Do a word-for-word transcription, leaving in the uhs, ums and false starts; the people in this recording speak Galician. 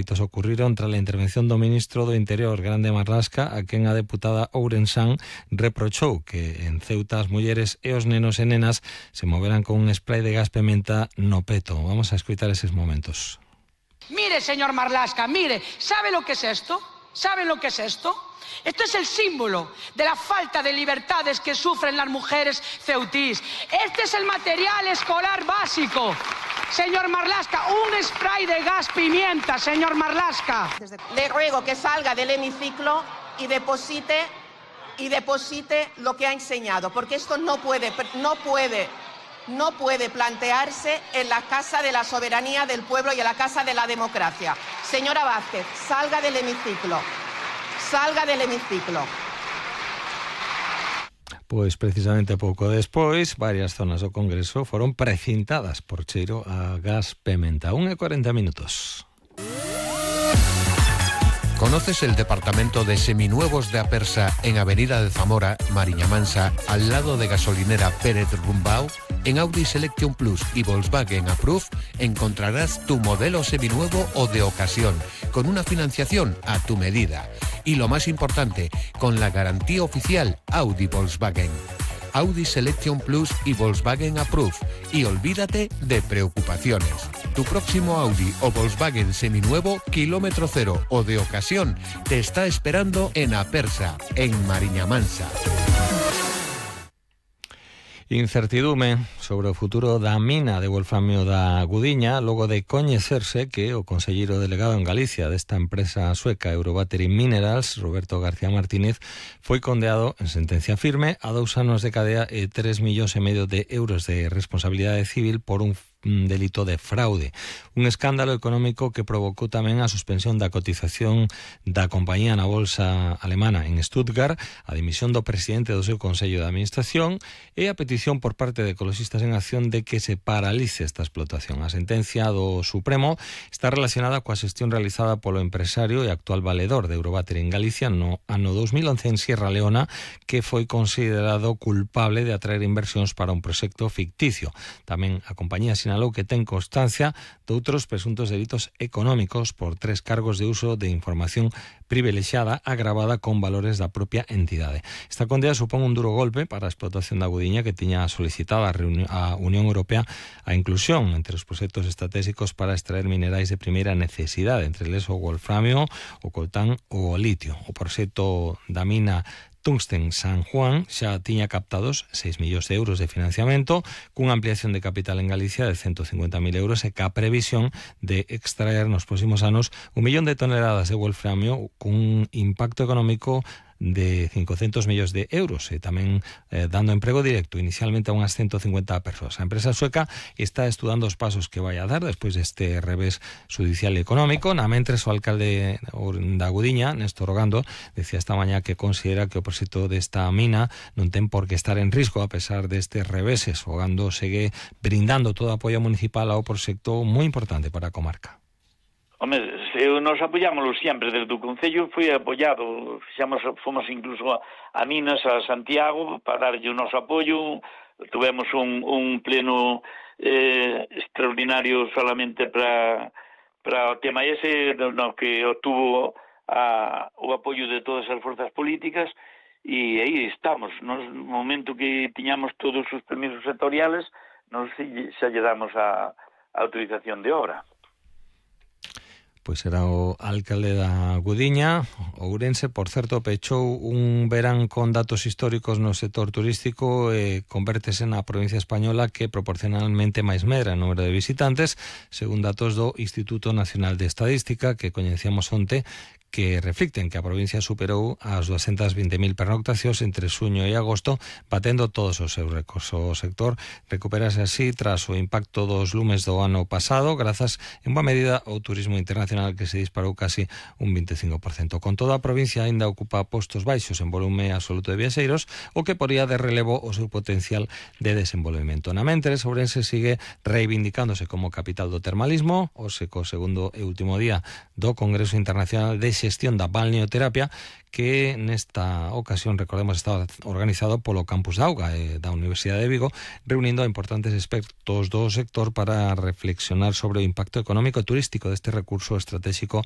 Os ocurriron tras la intervención do ministro do Interior, Grande Marlasca, a quen a deputada Ourensán reprochou que en Ceuta as mulleres e os nenos e nenas se moveran con un spray de gas pimenta no peto. Vamos a escuchar esos momentos. Mire, señor Marlasca, mire, ¿sabe lo que es esto? ¿Saben lo que es esto? Esto es el símbolo de la falta de libertades que sufren las mujeres ceutís. Este es el material escolar básico. Señor Marlasca, un spray de gas pimienta, señor Marlasca. Le ruego que salga del hemiciclo y deposite, y deposite lo que ha enseñado, porque esto no puede, no puede, no puede plantearse en la Casa de la Soberanía del Pueblo y en la Casa de la Democracia. Señora Vázquez, salga del hemiciclo. Salga del hemiciclo. Pois precisamente pouco despois, varias zonas do Congreso foron precintadas por cheiro a gas pimenta. un e cuarenta minutos. ¿Conoces el departamento de seminuevos de Apersa en Avenida de Zamora, Mariña Mansa, al lado de gasolinera Pérez Rumbao? En Audi Selection Plus y Volkswagen Approve encontrarás tu modelo seminuevo o de ocasión, con una financiación a tu medida. Y lo más importante, con la garantía oficial Audi Volkswagen. Audi Selection Plus y Volkswagen Approve. Y olvídate de preocupaciones. Tu próximo Audi o Volkswagen seminuevo, kilómetro cero o de ocasión, te está esperando en Apersa, en Mariña Mansa. Incertidume sobre o futuro da mina de wolframio da Gudiña logo de coñecerse que o conselleiro delegado en Galicia desta empresa sueca Eurobattery Minerals, Roberto García Martínez, foi condeado en sentencia firme a dous anos de cadea e tres millóns e medio de euros de responsabilidade civil por un un delito de fraude. Un escándalo económico que provocou tamén a suspensión da cotización da compañía na bolsa alemana en Stuttgart, a dimisión do presidente do seu Consello de Administración e a petición por parte de Ecologistas en Acción de que se paralice esta explotación. A sentencia do Supremo está relacionada coa xestión realizada polo empresario e actual valedor de Eurobattery en Galicia no ano dos mil once en Sierra Leona, que foi considerado culpable de atraer inversións para un proxecto ficticio. Tamén a compañía sinalou que ten constancia de outros presuntos delitos económicos por tres cargos de uso de información privilexiada agravada con valores da propia entidade. Esta condena supón un duro golpe para a explotación da Gudiña, que tiña solicitado a, a Unión Europea a inclusión entre os proxectos estratégicos para extraer minerais de primeira necesidade, entre eles o wolframio, o coltán ou o litio. O proxecto da mina Tungsten San Juan xa tiña captados seis millóns de euros de financiamento, cunha ampliación de capital en Galicia de ciento cincuenta mil euros e ca previsión de extraer nos próximos anos un millón de toneladas de wolframio cun impacto económico de cincocentos millóns de euros e tamén eh, dando emprego directo inicialmente a unhas ciento cincuenta persoas. A empresa sueca está estudando os pasos que vai a dar despois deste revés judicial e económico. Na mentres, o alcalde da Gudiña, Néstor Ogando, decía esta mañá que considera que o proxecto desta mina non ten por que estar en risco a pesar destes reveses. Ogando segue brindando todo o apoio municipal ao proxecto moi importante para a comarca. Home, nos apoyámoslo sempre desde o Concello, foi apoiado, fixamos, fomos incluso a, a Minas, a Santiago, para darlle o noso apoio, tuvemos un, un pleno eh, extraordinario solamente para, para o tema ese, no, que obtuvo a, o apoio de todas as forzas políticas, e aí estamos, no momento que tiñamos todos os permisos sectoriales, nos xa lle damos a, a autorización de obra. Pois era o alcalde da Gudiña. Ourense, por certo, pechou un verán con datos históricos no sector turístico e convértese na provincia española que proporcionalmente máis medra en número de visitantes, según datos do Instituto Nacional de Estadística que coñecíamos onte, que reflicten que a provincia superou as doscientas veinte mil pernoctacións entre suño e agosto, batendo todos os seus récords. O sector recuperase así tras o impacto dos lumes do ano pasado, grazas en boa medida ao turismo internacional que se disparou casi un veinticinco por ciento. Con toda a provincia aínda ocupa postos baixos en volume absoluto de viaxeiros, o que poría de relevo o seu potencial de desenvolvemento. Na mentres, Ourense sigue reivindicándose como capital do termalismo, o seco segundo e último día do Congreso Internacional de Xestión da Balneoterapia, que nesta ocasión, recordemos, estaba organizado polo Campus da Auga e da Universidade de Vigo, reunindo a importantes expertos do sector para reflexionar sobre o impacto económico e turístico deste recurso estratégico